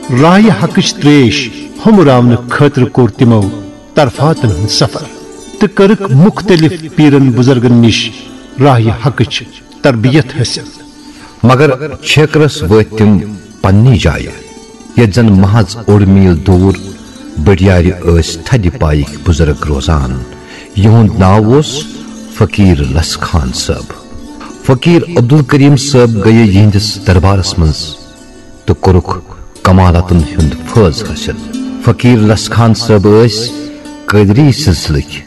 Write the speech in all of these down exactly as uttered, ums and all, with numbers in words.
راہہِ حقٕچ تریش ہُمراونہٕ خٲطرٕ کوٚر تِمو طرفاتن ہُنٛد سفر تہٕ کٔرٕکھ مُختٔلِف پیرن بُزرگن نِش راہہِ حقٕچ تربیت حٲصِل۔ مگر چھیکرس وٲتۍ تِم پننی جایہِ، ییٚتہِ زن محض اوٚڑ میٖل دوٗر بٔڑیارِ ٲسۍ تھدِ پایِکۍ بُزرگ روزان، یِہُنٛد ناو اوس فقیٖر لس خان صٲب۔ فقیٖر عبدالکریم صٲب گٔیہِ یِہنٛدِس دربارس منٛز تہٕ کوٚرُکھ کمالاتن ہُنٛد فٲض حٲصِل۔ فقیٖر لس خان صٲب ٲسۍ قٲدری سلسلٕکۍ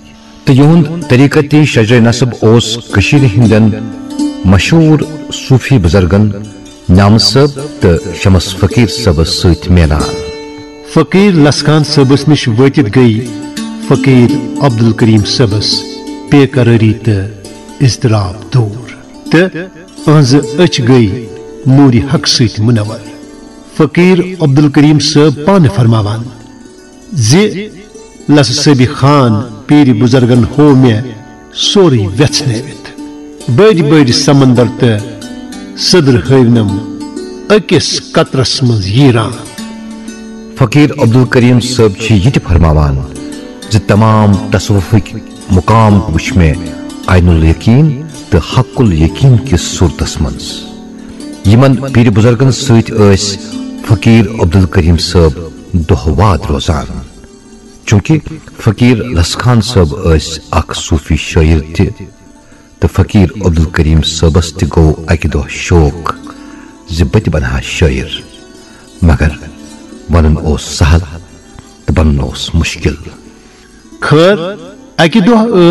تہٕ یِہُنٛد طریقت شجرِ نسب اوس کٔشیٖرِ ہٕنٛدٮ۪ن مشہوٗر صوٗفی بُزرگن نعمت صٲب تہٕ شمس فقیٖر صٲبس سۭتۍ میلان۔ فقیٖر لس خان صٲبس نِش وٲتِتھ گٔیہِ فقیٖر عبدالکریم صٲبس بے قرٲری تہٕ اضطراب دوٗر تہٕ أہنٛزٕ أچھ گٔیہِ نوٗرِ حق سۭتۍ منور۔ فقیٖر عبدالکریم صٲب پانہٕ فرماوان زِ لس صٲبِ خان پیٖرِ بُزرگن ہوو مےٚ سورُے وٮ۪ژھنٲوِتھ۔ بٔڑۍ بٔڑۍ سمندر تہٕ سدر ہٲوۍ نم أکِس قطرس منٛز ییٖران۔ فقیٖر عبدالکریم صٲب چھِ یہِ تہِ فرماوان زِ تمام تصوفٕکۍ مقام وٕچھ مےٚ عین الیقین تہٕ حق الیقین کِس صوٗرتس منٛز۔ یِمن پیٖرِ بُزرگن سۭتۍ ٲسۍ فقیٖر عبدالکریم صٲب دۄہ واد روزان۔ چونکہ فقیٖر لس خان صٲب ٲسۍ اکھ صوٗفی شٲعر تہِ، تہٕ فقیٖر عبدالکریم صٲبس تہِ گوٚو اکہِ دۄہ شوق زِ بہٕ تہِ بنہٕ ہا شٲعر، مگر ونُن اوس سہل تہٕ بنُن اوس مُشکل۔ خٲر، اکہِ دۄہ ٲس